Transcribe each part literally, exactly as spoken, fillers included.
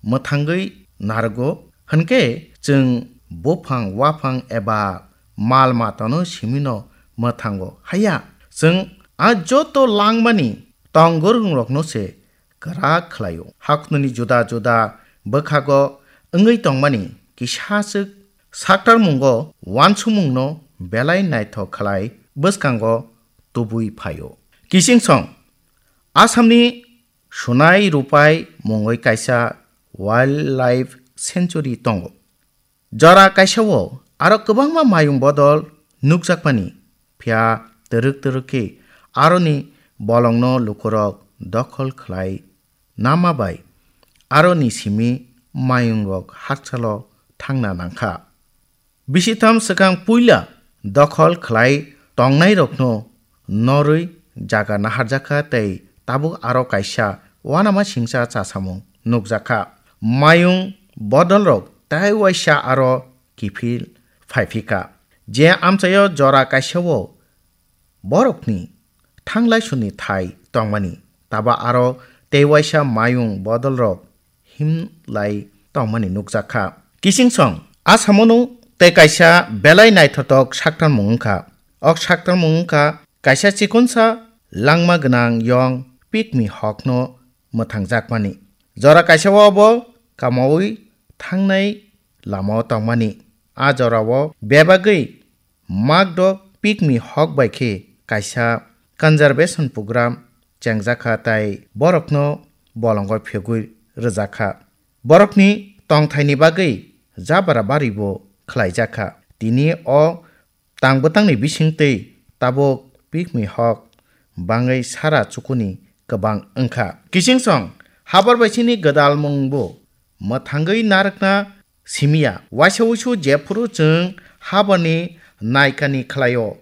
mwthangwi narwgo, hwnkhe chwng buphang, waphang eba mal matano simino mwthango. Haya, chwng a joto langmani tong gwrwngrokno se kwrak khlaio. Haknwni juda juda bwkhago wngwi tongmani kisa swk saktarmungo uansukmungno belai naithok khlai bwskango tubui phaio. Kichingsong Assamni Sunai Rupai mungwi kaisa wildlife sanctuary tongo. Jora kaisao aro kwbangma mayung bodol nukjakmani, phiya twrwk twrwk khe aroni bolongno lukurok dokhol khlai nama bai aroni simi mayungrok hakchalo thangna nangkha. Bisitham swkang puila dokhol khlai tongnairokno norwi jaga naharjakha tei tabuk aro kaisa uanama singcha chasamung nukjakha. Mayung bodolrok tei waisa aro kiphil phaiphika. Je amchaio jora kaisao borokni thanglai suni thai tongmani, taba aro tei waisa mayung bodolrok himlai tongmani nukjakha. Kichingsong Assamono tei kaisa belai naithotok saktarmung wngkha. Ok saktarmung wngkha kaisa chikonsa langma gwnang yong pigmy hawkno mwthangjakmani. Jora kaisao bo kamaui thangnai lamao tongmani. A jorao bebagwi makdok pigmy hawk bai khe kaisa conservation program chengjakha tei borokno bolongo phegwi rwjakha. Borokni tongthaini bagwi jabra baribo khlaijakha. Tini o tang bwtangni bisingtwi tabuk pigmy hawk bangwi sara chukuni kwbang wngkha. Kichingsong habar bai chini gwdalmung bo mwthangwi narwkna simiya. Waisa wuisu jephuru chwng habarni naikani khlaio,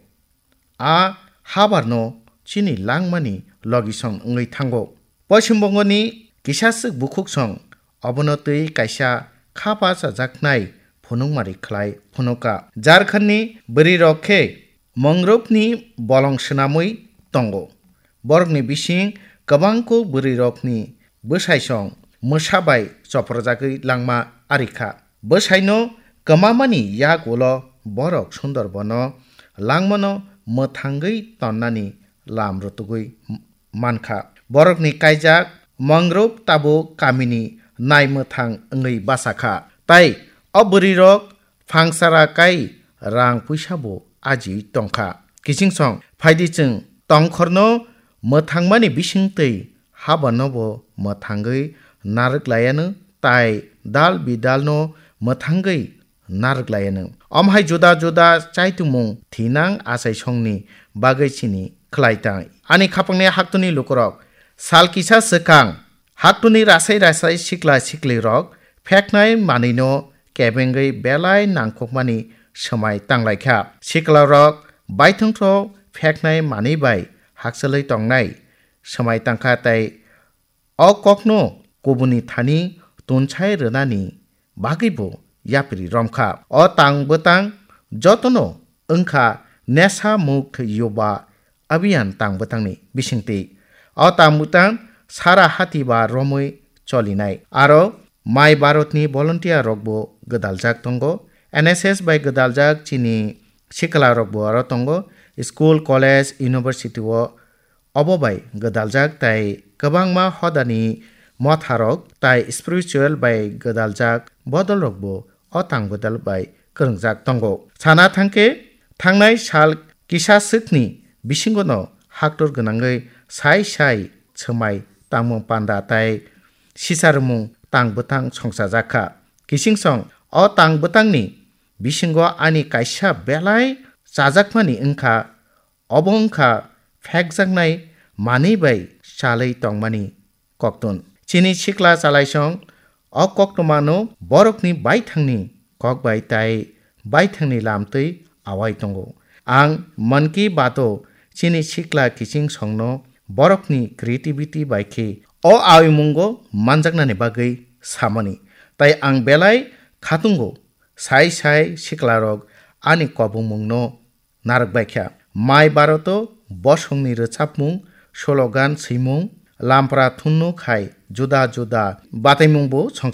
a habarno chini langmani logisong wngwi thango. Poishim Bongoni kisa swk bukhuksong obono twi kaisa khapa chajaknai phunukmari khlai phunuka. Jharkhandni bwrwirok khe Mangrove'ni bolong swnamwi tongo. Borokni bising kwbangkuk bwrwirokni bwsaisong mwsa bai choprojagwi langma arikha. Bwsaino kwmamani yak ulo borok Sundarbono langmano mwthangwi tonnani lam rwtugwi mankha. Borokni kaijak Mangrove tabuk kamini naimwthang wngwi bachakha. Tai o bwrwirok phangchara kai rang puisa bo ajiwi tongkha. Kichingsong phaidi chwng tongkhorno mwthangmani bisingtwi habarno bo mwthangwi narwk laianw tai dal bidalno mwthangwi narwk laianw. Omo hai juda juda chaitungmung thinang achaisongni bagwi chini khlai tang. Ani khapangni haktuni lukurok sal kisa swkang haktuni rasai rasai sikla siklirok pheknai manwino kebengwi belai nangkukmani swmai tanglaikha. Siklarok baithongthok pheknai manwi bai hakchalwi tongnai swmai tangkha tei o kokno kubuni thani tunsai rwnani bagwibo yapri romkha. O tang bwtang jotono wngkha Nesha Mukt Yuva Abhiyan tang bwtangni bisingtwi. O tang bwtang sara hati ba romwi cholinai. Aro Mai Bharatni volunteer rokbo gwdaljak tongo. N S S bai gwdaljak chini sikla rokbo aro tongo. School, college, university o obo bai gwdaljak tai kwbangma hodani motharok tai spiritual bai gwdaljak bodolrokbo o tang bwdal bai kwrwngjak tongo. Sana thangkhe, thangnai sal kisa swkni bisingono haktor gwnangwi sai sai swmai tangmung panda tai sisarmung tang bwtang songchajakha. Kichingsong o tang bwtangni bisingo ani kaisa belai chajakmani wngkha, obo wngkha phekjaknai manwi bai chalwi tongmani koktun. Chini sikla chalaisong o koktwmano borokni baithangni kok bai tai baithangni lamtwi awai tongo. Ang Mann Ki Baat o chini sikla kiching songno borokni creativity bai khe o awimungo manjaknani bagwi samani. Tai ang belai khatungo sai sai siklarok ani kobongmungno narwk baikha. Mai Bharat o bosongni rwchapmung, slogan swimung, lampra thunno khai juda juda bataimungbo songcha